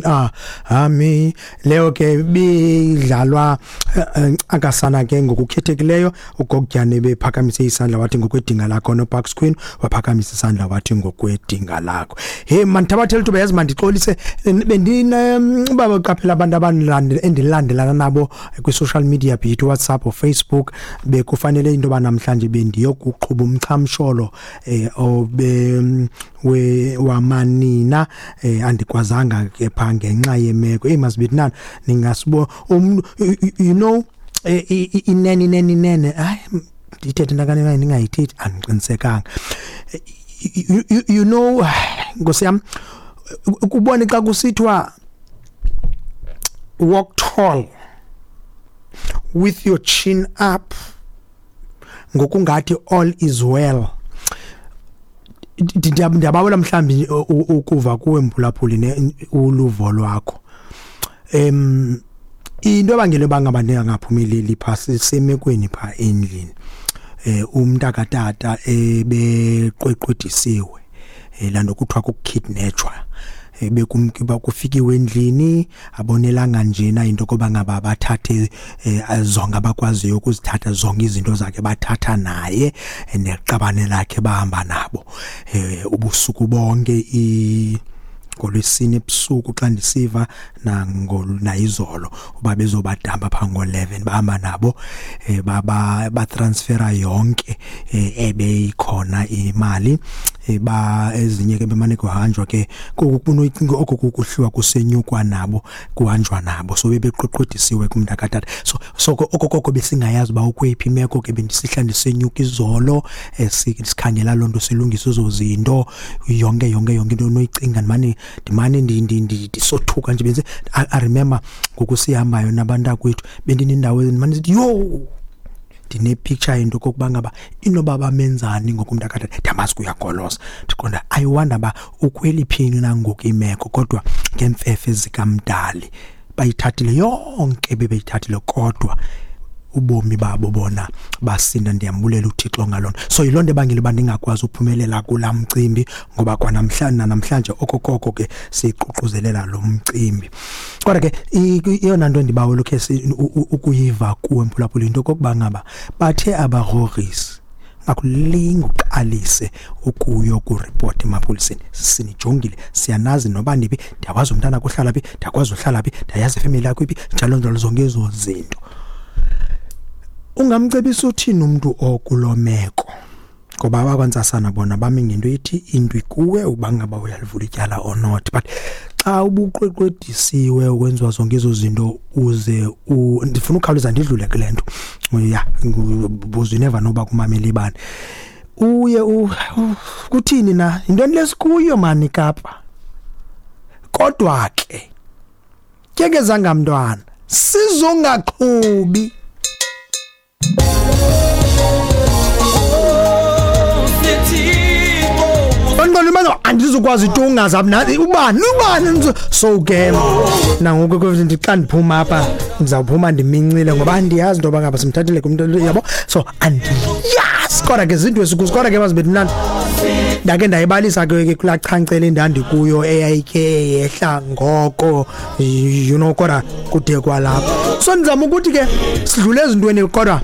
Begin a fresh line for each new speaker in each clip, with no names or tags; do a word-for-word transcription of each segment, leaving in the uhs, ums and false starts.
Ah ami leyo ke bidlalwa akasana ke ngokukhethekileyo. Ugokutyane bephakamise isandla wathi ngokwedinga lakho, noParks Queen waphakamisa isandla wathi ngokwedinga lakho. Hey mandithabathele ithuba, yazi mandixolise, bendine uba qaphela abantu abandilandela endilandelana nabo kwi-social media, be it WhatsApp or Facebook. Bekufanele into yoba namhlanje bendiyokuqhuba umchamsholo eh obe we wamanina, eh andikwazanga ke pha ngenxa yemeko. Hey masibithi nani ningasibo um you know inene inene inene, hayi ndithethe ntakane ningayithethi, andiqinisekanga. you, you know Nkosi yam, ukubona xa kusithiwa "Walk tall with your chin up", ngokungathi all is well. Ndiyabawela mhlawumbi ukuva kuwe, mphulaphuli, ne uluvo lwakho. em into ebangela bangaba ndingaphumeleli pha, sisemekweni pha endlini, eh umntaka tata ebeqweqwedisiwe, laa kuthiwa kukukidnapwa. Bekumkiba kufikiwe endlini, abonelanga njena into koba ngaba bathathe zonke abakwaziyo ukuzithatha, zonke izinto zakhe, bathatha naye neqabane lakhe, bahamba nabo ubusuku bonke i ngolwesine ebusuku xa ndisiva nayizolo uba bezobadamba pha ngo-eleven, bahamba nabo, baba batransfera yonke ebeyikhona imali, ba ezinye ke bemane kuhanjwa ke oko kukuhliwa kusenyukwa nabo, kuhanjwa nabo. So bebeqweqwedisiwe kumntakatata. so so okokoko besingayazi uba ukweyiphi imeko ke. Bendisihla ndisenyuka izolo, sikhangela loo nto, silungisa ezo zinto, yonke yonke yonke into onoyicinga. Ndimane ndimane ndisothuka nje benze. I remember ngoku sihambayo nabantakwethu, bendinendawo ndimane sithi, "Yho, ndine-picture into okokuba ngaba inoba bamenzani ngoku umntakatata." Ndiyamazi kuyagoloza, ndiqonda, I wonder uba ukweliphi na ngoku imeko. Kodwa ngeemfefe zikamdali bayithathile yonke bebeyithathile, kodwa ubomi babo bona basinda. Ndiyambulela uThixo ngaloo nto. So yiloo nto ebangela uba ndingakwazi uphumelela kulaa mcimbi, ngoba kwanamhlanje namhlanje okokoko ke siququzelela lo mcimbi. Kodwa ke eyona nto ndibawela ukhe ukuyiva kuwe, mphulaphuli, into okokuba ngaba bathe abagrogrisi akulinge uqalise ukuyokuripota emapoliseni, sinijongile, siyanazi noba niphi, ndiyakwazi umntana kuhlala phi, ndiyakwazi uhlala phi, ndiyayazi ifemeli yakho iphi, njalo njalo, zonke ezo zinto. Ungamcebisa uthini umntu okuloo meko? Ngoba abakwantsasana bona bami ngento ethi into ikuwe uba ngaba uyalivula ityala or not, but xa ubuqweqwedisiwe, ukwenziwa zonke ezo zinto, uze ndifuna ukhawuleza ndidlule kule nto ya buze, never noba kumamela bani, uye kuthini na, yintoni lesikuyo mani Kapa? Kodwa ke tyekezanga mntwana, sizongaqhubi. Andizukwazi tu ungazabi ubani ubani. So ke nangoku xa ndiphuma apha, ndizawuphuma ndimincile, ngoba andiyazi into yoba ngaba simthathile kumntu, yabo. So andiyazi, kodwa ke zinto esikuzo. Kodwa ke mazibe mnandi, ndake ndayibalisa ke kulaa chancele endandikuyo eyayikhe yehla ngoko, you know kodwa kude kwalapho. So ndizama ukuthi ke sidlule ezintweni, kodwa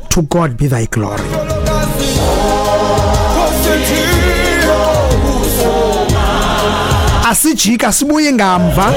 to God be thy glory. Asijika sibuye ngamva.